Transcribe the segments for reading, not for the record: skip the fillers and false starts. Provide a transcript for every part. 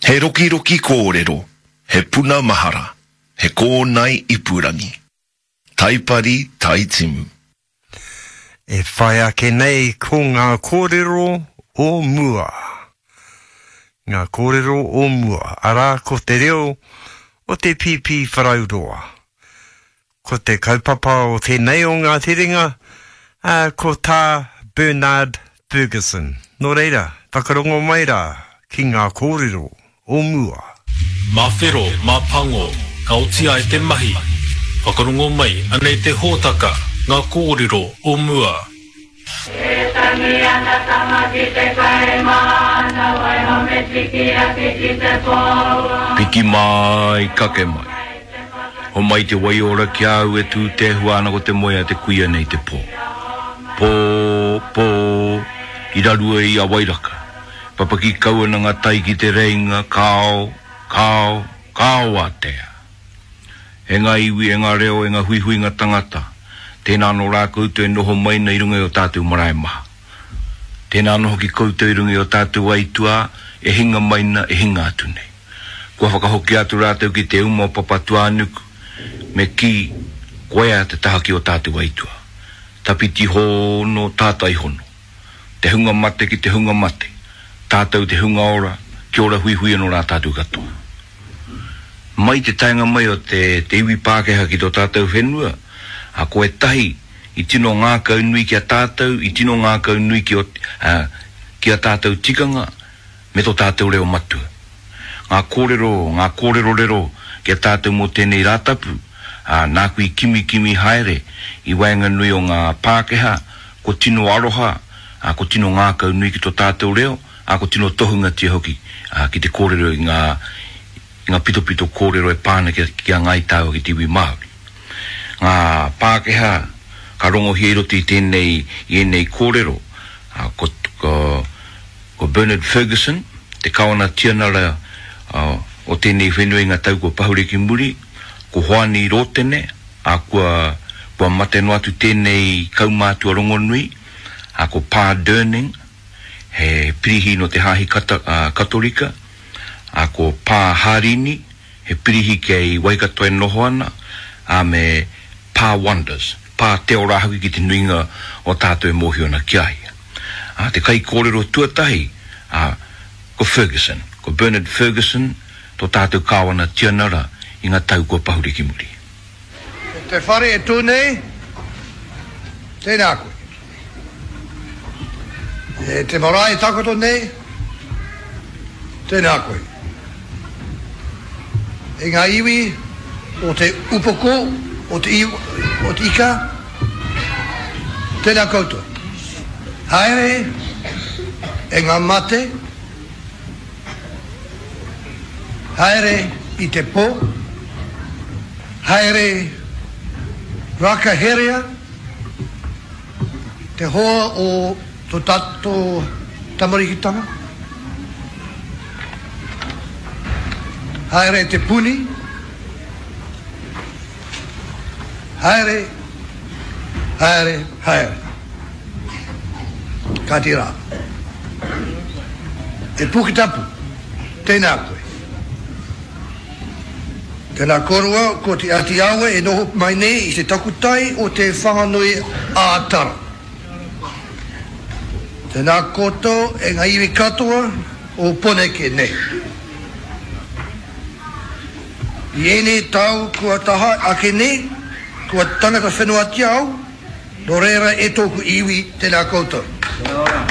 He rokiroki kōrero, he puna mahara, he kōnae ipurangi. Taipari Taitimu. E whai ake nei ko ngā kōrero o mua. Ngā kōrero o mua, arā ko te reo o te Pīpīwharauroa. Ko te kaupapa o tēnei o ngā terenga, ā, ko tā Bernard Fergusson. Nō reira, whakarongo mai rā ki ngā kōrero o mua. Mā whero, mā pango, ka oti ai te mahi. Whakarongo mai, anei te hōtaka, ngā kōrero o mua. E tangi ana tama ki te kai māna, waiho me tiki ake ki te pō. Piki mai, kake mai. Homai te waiora ki a au e tū tēhua ana ko te moe a te kuia nei te pō. Pō, pō, i rarua i a Wairaka. Papaki kau ana ngā tai ki te reinga, kao, kao, kao ātea. E ngā iwi, e ngā reo, e ngā huihuinga tangata, tēnā anō rā koutou e noho mai nei i runga i ō tātou marae maha. Tēnā anō hoki koutou i runga i ō tātou aituā e hinga mai na, e hinga atu nei. Kua whakahokia atu rātou ki te uma o Papatūānuku, me kī, koea te taha ki ō tātou aituā. Tawhiti hono, tātai hono. Te hunga mate ki te hunga mate, tātou te hunga ora, kia ora huihui anō rā tātou katoa. Mai te taenga mai o te te iwi Pākehā ki tō tātou whenua, ā, ko ētahi i tino ngākaunui ki a tātou, i tino ngākaunui ki o, ā, ki a tātou tikanga me tō tātou reo matua. Ngā kōrero, ngā kōrerorero ki a tātou mō tēnei Rātapu, ā, nāku i kimikimi haere i waenganui o ngā Pākehā, ko tino aroha, ā, ko tino ngākaunui ki tō tātou reo, ā, ko tino tohungatia hoki ki te kōrero i ngā, i ngā pitopito kōrero e pā ana ki a, ki a Ngāi Tāua ki te iwi Māori. Ngā Pākehā ka rongohia i roto i tēnei, i ēnei kōrero, ā, ko, ko, ko Bernard Fergusson, te Kāwana Tianara o tēnei whenua i ngā tau kua pahure ki muri, ko Hoani Rōtene, ā, kua, kua mate noa atu tēnei kaumātua rongonui, ā, ko Pā Durning, he pirihi nō te Hāhi Katorika, ā, ko Pā Hārini, he pirihi kei Waikato e noho ana, ā, me Pā Wonders, Pā Teo rā hoki ki te nuinga o tātou e mōhio ana ki a ia. Ā, te kaikōrero tuatahi, ā, ko Fergusson, ko Bernard Fergusson tō tātou Kāwana Tianara i ngā tau kua pahure ki muri. Ko te whare e tū nei, tēnā koe. E te marae e takoto nei, tēnā koe. E ngā iwi o te upoko, o te, o te ika, tēnā koutou. Haere e ngā mate, Haere i te po, haere rakaherea te hoa o to tato tamarikitanga, haere te puni, haere, haere, haere. Kāti rā. E Puketapu, tēnā koe. Tēnā kōrua, ko Te Āti Awa e noho mai nei i te takutai o Te Whanganui a Tara. Tēnā koutou e ngā iwi katoa o Poneke nei. I ēnei tau kua taha ake nei, kua tangata whenuatia au, Nō reira e tōku iwi, tēnā koutou. Kia ora.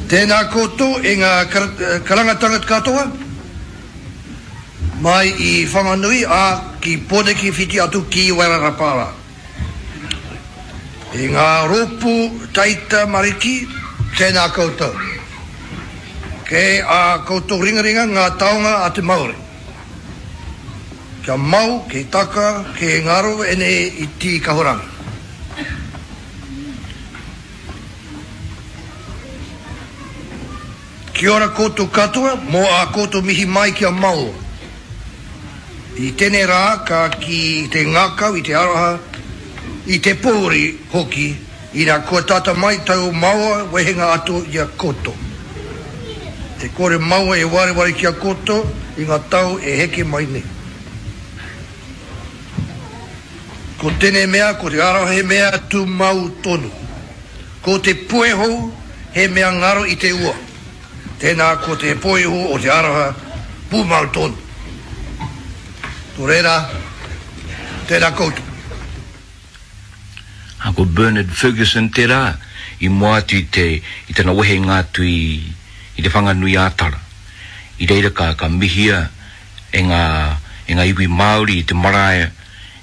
Tēnā koutou e ngā karangatanga katoa, mai i Whanganui ā, ki Pōneke whiti atu ki Wairarapa rā. E ngā rōpū taitamariki, tēnā koutou. Kei ā koutou ringaringa ngā taonga a te Māori. Kia mau, kei taka, kei ngaro ēnei iti kahurangi. Kia ora koutou katoa mō ā koutou mihi mai ki a Maoa. I tēnei rā ka ki te ngākau i te aroha. I te pōuri hoki, ina kua tata mai tau maua wehenga atu i a koutou. E kore maua e wareware ki a koutou i nga tau e heke mai nei. Ko tenei mea, ko te aroha he mea tumau tonu. Ko te puehu he mea ngaro i te ua. Tēnā ko te puehu o te aroha pūmau tonu. Nō reira, tēnā koutou. Ā, ko Bernard Fergusson tērā i mua atu i te, i tana wehenga atu i, i Te Whanganui-ā-Tara. I reira ka, ka mihia e ngā, e ngā iwi Māori i te marae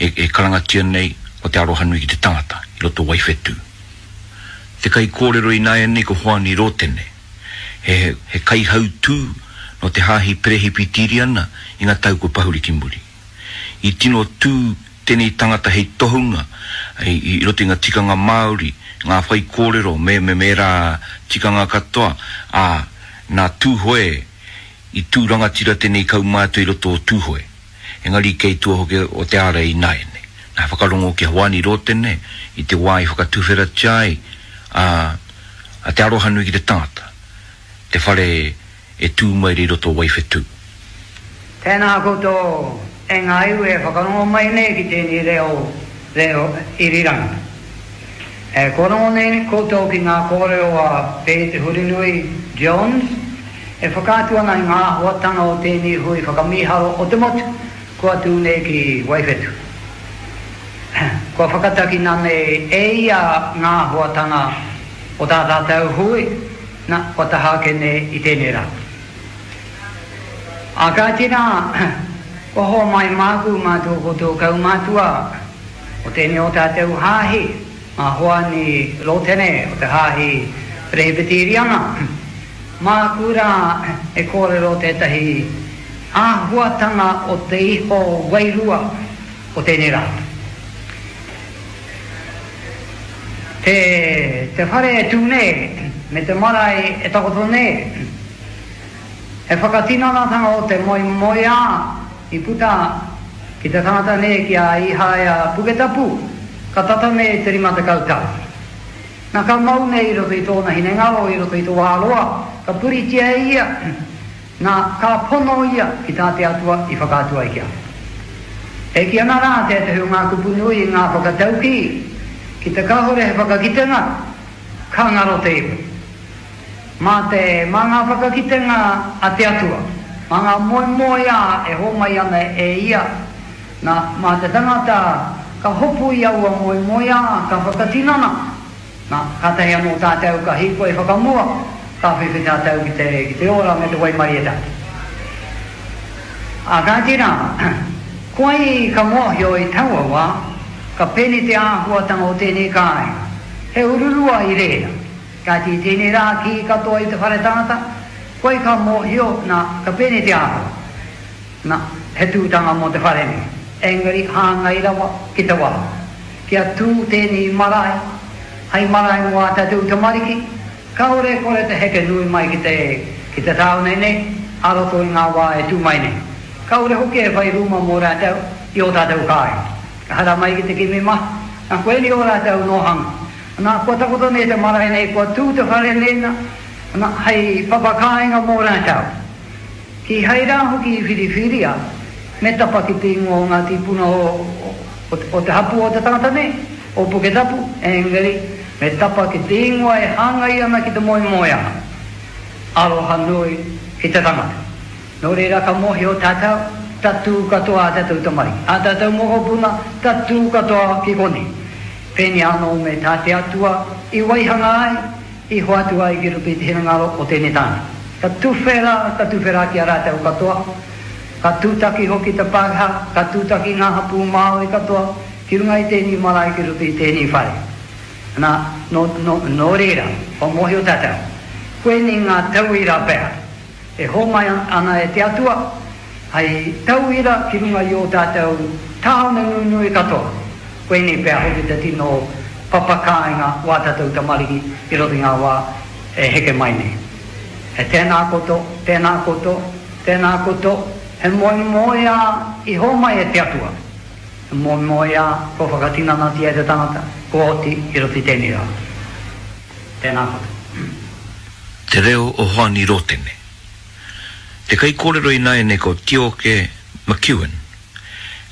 e, e karangatia nei ko Te Arohanui ki te Tangata i roto o Waiwhetū. Te kaikōrero ināianei ko Hoani Rōtene, he, he kaihautū nō te Hāhi Perehipitīriana i ngā tau kua pahure ki muri. I tino tū tēnei tangata hei tohunga i roto i ngā tikanga Māori, ngā whaikōrero me, me, me ērā tikanga katoa, ā, nā Tūhoe i tū rangatira tēnei kaumātua i roto o Tūhoe. Engari kei tua hoki o te ārai ināianei. Nā whakarongo ki a Hoani Rōtene i te wā i whakatuwheratia ai a a Te Arohanui ki te tangata, te whare e tū mai rei roto o Waiwhetū. Tēnā koutou e ngā iwi e whakarongo mai nei ki tēnei reo, reo irirangi. E kōrongo nei koutou ki ngā kōrero a Pei Te Hurinui Jones e whakaatu ana i ngā āhuatanga o tēnei hui whakamīharo o te motu kua tū nei ki Waiwhetu. Kua whakatakina nei e ia ngā āhuatanga o tā tātou hui, na, kua taha ake nei i tēnei rā. Ā kāti rā, kua homai māku mā tō koutou kaumātua o tēnei o tātou hāhi, mā Hoani Rōtene o te Hāhi Perehipitīriana, māku rā e kōrero tētahi āhuatanga o te iho wairua o tēnei rā. Te, te whare e tū nei, me te marae e takoto nei, he whakatinanatanga o te moemoeā i puta ki te tangata nei ki a Īhāia Puketapu, ka tata nei te 50 tau. Na ka mau nei i roto i tōna hinengaro i roto i te wā roa, ka puritia e ia, na ka pono ia ki tā te Atua i whakaatu ai ki a ia. E kī ana rā tētahi o ngā kupu nui i ngā whakataukī, ki te kāhore he whakakitenga, ka ngaro te iwi. Mā te, mā ngā whakakitenga a te Atua, mā ngā moemoeā e hōmai ana e Ia, nā, mā te tangata ka hopu i aua moemoeā, ka whakatinana, nā, kātahi anō tātou ka hīkoi whakamua, ka whiwhi tātou ki te, ki te ora me te waimarietanga. Ā, kāti rā, koai ka mōhio i taua wā, ka pēnei te āhuatanga o tēnei kāinga, he ururua i reira. Kāti i tēnei rā kī katoa i te whare tangata, koe ka mōhio, nā, ka pēnei te āhua. Nā, he tūtanga mō te whare nei, engari hāngai rawa ki te wā. Kia tū tēnei marae, hai marae mō ā tātou tamariki, kāore e kore te heke nui mai ki te, ki te tāone nei, ā roto i ngā wā e tū mai nei. Kāore hoki e whai rūma mō rātou i ō tātou kāinga. Ka haramai ki te kimi mahi, nā, koinei ō rātou nōhanga. Nā, kua takoto nei te marae nei, kua tū te whare nei, nā, nā, hei papa kāinga mō rātou. Kīhai rā hoki i whiriwhiria me tapa ki te ingoa o ngā tīpuna o, o, o te hapū o te tangata nei, o Puketapu, engari, me tapa ki te ingoa e hāngai ana ki te moemoeā, aroha nui ki te tangata. Nō reira ka mōhio tātou, tatū katoa ā tātou tamariki, ā tātou mokopuna, tatū katoa ki konei. Pēnei anō me tā te Atua i waihanga ai, i hoatu ai ki roto i te hinengaro o tēnei tāne. Ka tuwhera, ka tuwhera ki a rātou katoa, ka tūtaki hoki te Pākehā, ka tūtaki ngā hapū Māori katoa ki runga i tēnei marae ki roto i tēnei whare. Nā, nō, nō, nō reira, kua mōhio tātou, koinei ngā tauira pea e hōmai ana e te Atua hei tauira ki runga i ō tātou tāone nunui katoa. Koinei pea hoki te tino papa kāinga o ā tātou tamariki i roto i ngā wā e heke mai nei. He tēnā koutou, tēnā koutou, tēnā koutou, he moemoeā i hōmai e te Atua. He moemoeā kua whakatinanatia e te tangata, kua oti i roto i tēnei rā. Tēnā koutou. Te reo o Hoani Rotene. Te kaikōrero ināianei ko Tioke McEwen.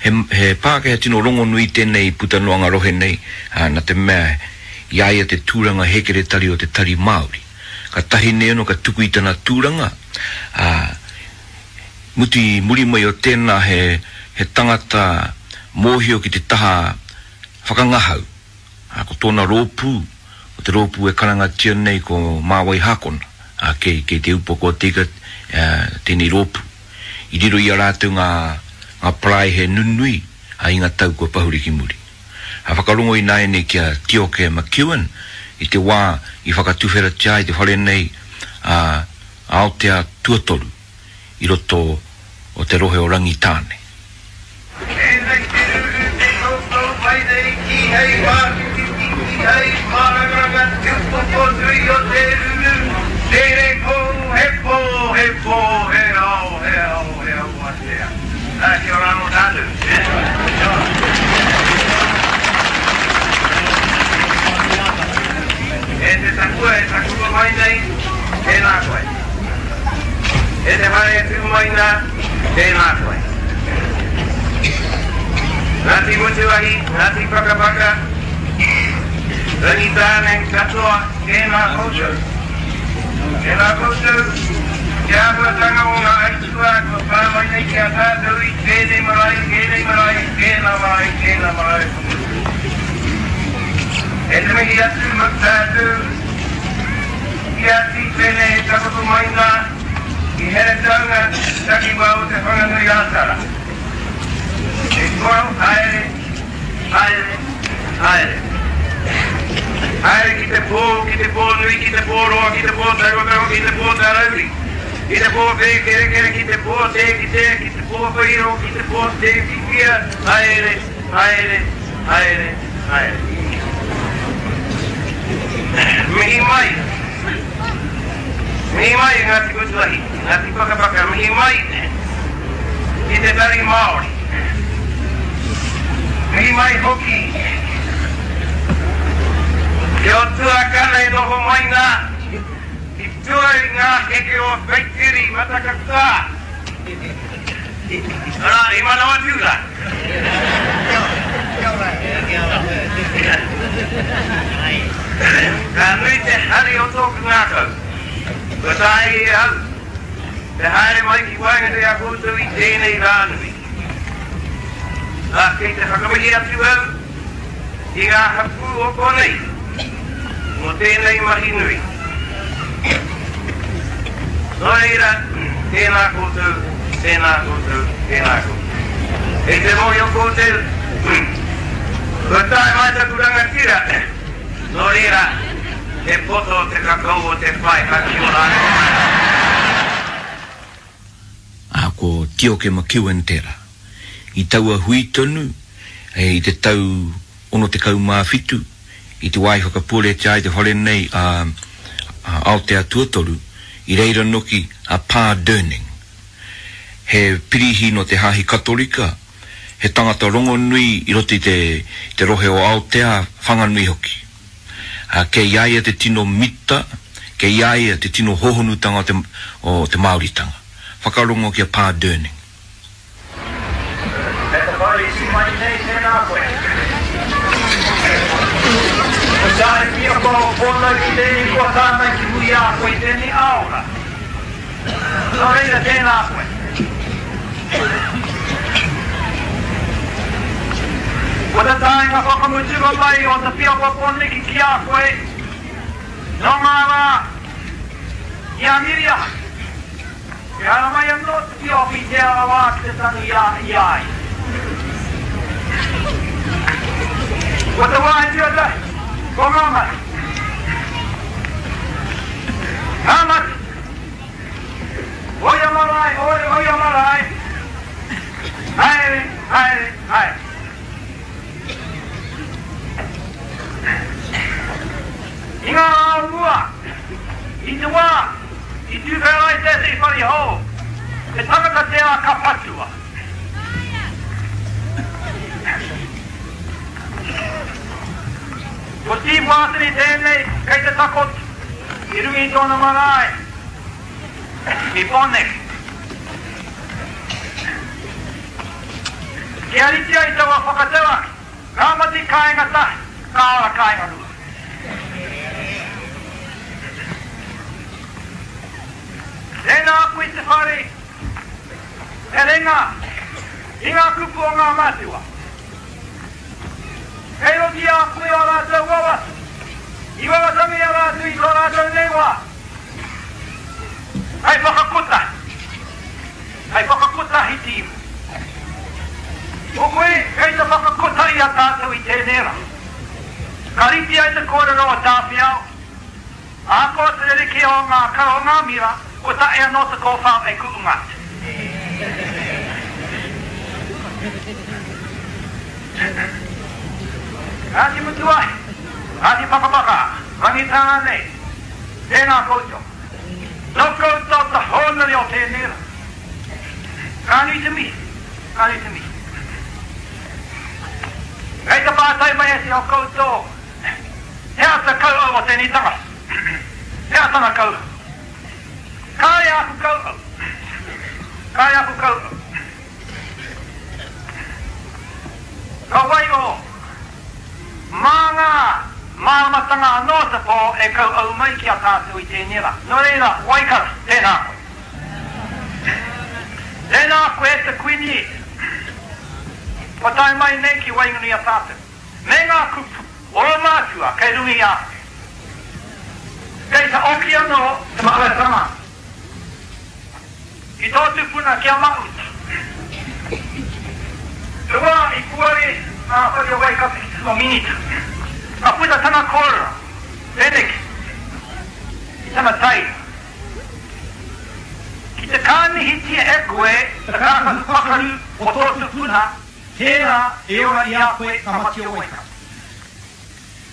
He, he Pākehā tino rongonui tēnei puta noa ngā rohe nei, ā, nā te mea i a ia te tūranga hēkeretari o te Tari Māori. Ka tahi nei anō ka tuku i tana tūranga, ā, mutu i muri mai o tēnā he, he tangata mōhio ki te taha whakangahau, ā, ko tōna rōpū, ko te rōpū e karangatia nei ko Māwai Hākona, ā, kei, kei Te Upoko o Te Ika, ā, tēnei rōpū. I riro i a rātou ngā, ngā paraihe nunui, ā, i ngā tau kua pahure ki muri. Ā, whakarongo ināianei ki a Tioke McEwen i te wā i whakatuwheratia ai te whare nei, ā, Aotea tuatoru i roto o te rohe o Rangitāne. Tēnei te ruru te koutou mai nei kīhei mātititi kīhei mārangaranga te upoko nui o te ruru tere kou he pō he pō he ao he ao he ao atea Ā, kia ora anō tātou. Kia ora. E te takua e takua mai nei, tēnā koe. E te whare e tū mai nā, tēnā koe. Ngāti Mutuahi, Ngāti Pakapaka, Rangitāne katoa, tēnā koutou. Tēnā koutou, te āhuatanga o ngā aituā kua pā mai nei ki a tātou i tēnei marae, tēnei marae, tēnā marae, tēnā marae o Motu. E te mihi atu ma tātou ki a Tīpene e takoto mai nā i Heretaunga takiwā o Te Whanganui-ā-Tara. E toa haere, haere, haere. Haere ki te pō, ki te pō nui, ki te pō roa, ki te pō tarotaro, ki te pō tarauri, ki te pō whēkerekere, ki te pō tē kitea, ki te pō whairo, ki te pō tē whiwhia, haere, haere, haere, haere. Mihi mai, mihi mai e Ngāti Mutuahi, Ngāti Pakapaka, mihi mai ki te Tari Māori. Mihi mai hoki ki ō tuakana e noho mai nā i tua i ngā heke o Whaitiri Matakatā. Arā, i Manawatū rā. Ka nui te hari o tōku ngākau, kua taea e au te haere mai ki waenganui a koutou i tēnei rā nui. Ā, kei te whakamihi atu au ki ngā hapū o konei mō tēnei mahi nui. Nō reira, tēnā koutou, tēnā koutou, tēnā koutou. Kei te mōhio koutou, kua tae mai taku rangatira, nō reira, he poto te kakau o te whai ka kia ora anō mai. Ā, ko Tioke McEwen tērā. I taua hui tonu, i te tau 67, i te wā i whakapuaretia ai te whare nei a Aotea Tuatoru, i reira noki a Pā Durning. He pirihi nō te Hāhi Katorika, he tangata rongonui i roto i te rohe o Aotea, Whanganui hoki. Ā, kei a ia te tino mita, kei a ia te tino hōhonutanga o te Māoritanga. Whakarongo ki a Pā Durning. E te whare i tū mai nei, tēnā koe. Ko tāu piako o pōnau ki tēnei kua tātai ki muri a koe i tēnei āora. Nō reira, tēnā koe. Ko te taenga whakamutunga mai o te piako pōniki ki a koe, nō ngā rā i a Miriaha. E haramai anō te pioki i Te Arawa ki te tangi i a ia. Ko te wāhi tuatahi, ko ngā mahi. Ngā mahi! O ia marae, o o ia marae, haere, haere, haere. I ngā rā o mua, i te wā I tuwhera ai tētehi whare hou, he tangata tērā ka patua. wātene tēnei kei te takoto i runga i tōna marae i Pōneke. Kia rite ai taua whakatauaki, ka mate kāinga tahi, ka ora kāinga rua. Tēnā koe te whare e renga i ngā kupu o ngā mātua. Kei roto i a koe ō rātou wawata, i wawatangia rātou i tō rātou nei wā, hei whakakotahi, hei whakakotahi te iwi. Ko koe kei te whakakotahi i a tātou i tēnei rā. Ka rite ai te kōrero o Tāwhiao, Ahakoa te rerekē o ngā kara o ngā mira, kua tae anō te kōwhao e kuʻunga atu. Ngāti Mutuahi, Ngāti Pakapaka, Rangitāne, tēnā koutou. Nō koutou te hōnore o tēnei rā. Ka nui te mihi, ka nui te mihi. Kei te pātai mai ētehi o koutou, He aha te kauhau o tēnei tangata? He aha tana kauhau? Kāre āku kauhau. Kāre āku kauhau. Ka waiho mā ngā māramatanga anō te pō e kauhau mai ki a tātou i tēnei rā. Nō reira, Waikato, tēnā koe. Tēnā koe te Kuini kua tae mai nei ki waenganui i a tātou. Me ngā kupu o ō mātua kei runga i a koe. Kei te oki anō te māramatanga ki tō tupuna ki a Mahuta. Te wā i puare ngā whare o Waikato ki te tino minita, ka puta tana kōrero pēneki i tana taira, Ki te kānihitia e koe te kākahu pakaru o tō tupuna, Tērā e ora i a koe ka mati o Waikato.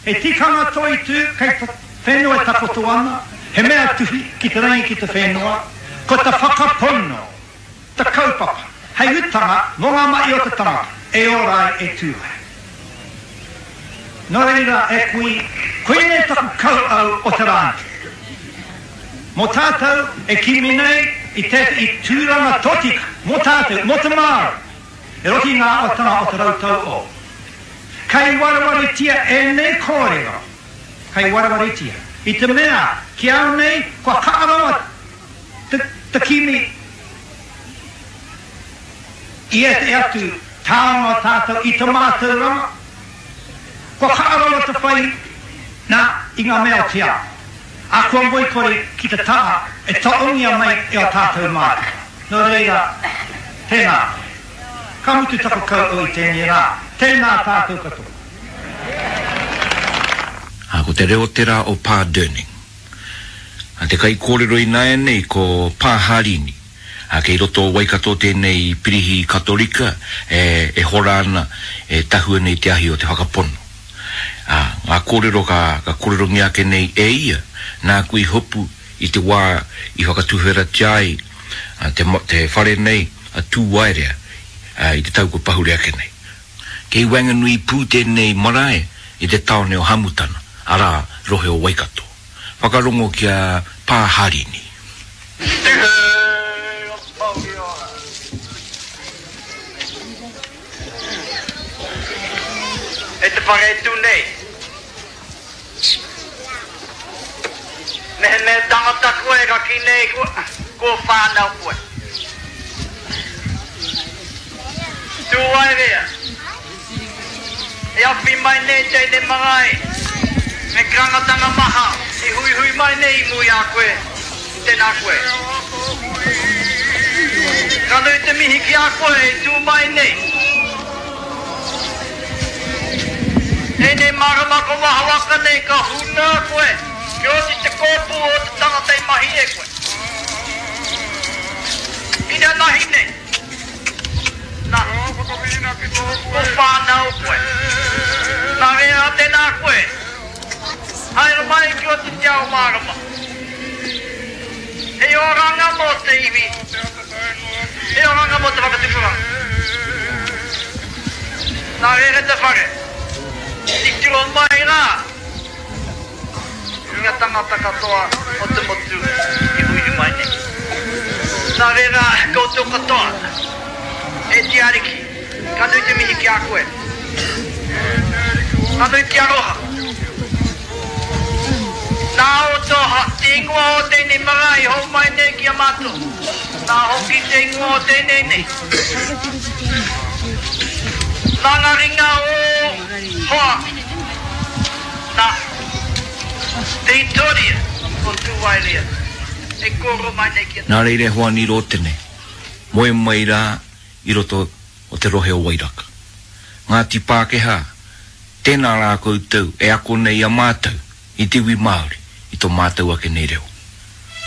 He tikanga toitū kei te whenua e takoto ana, he mea tuhi ki te rangi ki te whenua, ko te whakapono te kaupapa hei utanga mō ngā mahi o te tangata e ora ai e tū ai. Nō reira e kui, koinei taku kauau o te rā nei. Mō tātou e kimi nei i tētahi tūranga tōtika mō tātou, mō te Māori, I roto i ngā āhuatanga o te rautau o. Kei warewaretia ēnei kōrero, kei warewaretia, i te mea ki au nei kua kaha rawa te, te kimi i ētahi atu taonga o tātou i te mātauranga, kua kaha rawa te whai nā i ngā mea o te ao, ā, kua ngoikore ki te taha e taongia mai e ō tātou mātua. Nō reira, tēnā koe. Ka mutu taku kouou i tēnei rā. Tēnā tātou katoa. Ā, ko te reo tērā o Pā Durning. Ā, te kaikōrero ināianei ko Pā Harini. Ā, kei roto o Waikato tēnei pirihi Katorika e, e hora ana, e tahua nei te ahi o te whakapono. Ā, ngā kōrero ka, ka kōrerongia ake nei e ia, nāku i hopu i te wā i whakatuwheratia ai te, te whare nei a Tūwaerea i te tau kua pahure ake nei. Kei waenganui pū tēnei marae i te tāone o Hamutana, arā, rohe o Waikato. Whakarongo ki a Pā Harini. Tihei o Mauri ora. E te whare e tū nei. Mehemea tangata koe ka kī nei kua whānau koe. Tū ai rea. E awhi mai nei tēnei marae me karangatanga maha i huihui mai nei i mua i a koe, tēnā koe. Ka nui te mihi ki a koe e tū mai nei. Tēnei marama ko Mahawaka nei ka huna koe kia oti te kōpū o te tangata i mahi e koe. Inanahi nei, na, ko whānau koe. Nā reira tēnā koe, haere mai ki oti te ao mārama. Hei oranga mō te iwi. He oranga mō te whakatupuranga. Nā reira te whare. Titiro mai rā. ki ngā tangata katoa o te motu i huihui mai nei. Nā reira, koutou katoa, e te Ariki, ka nui te mihi ki a koe. Ka nui te aroha. Nā o tō te ingoa o tēnei marae i hou mai nei ki a mātou. Nā hoki te ingoa o tēnei nei. Nā ngā ringa o hoa, nā te hitoria o Tūwaerea e kōrero mai nei ki a. Nā reira e Hoani Rōtene, moe mai rā i roto o te rohe o Wairaka. Ngāti Pākehā, tēnā rā koutou e ako nei i a mātou, i te iwi Māori, i tō mātou ake nei reo.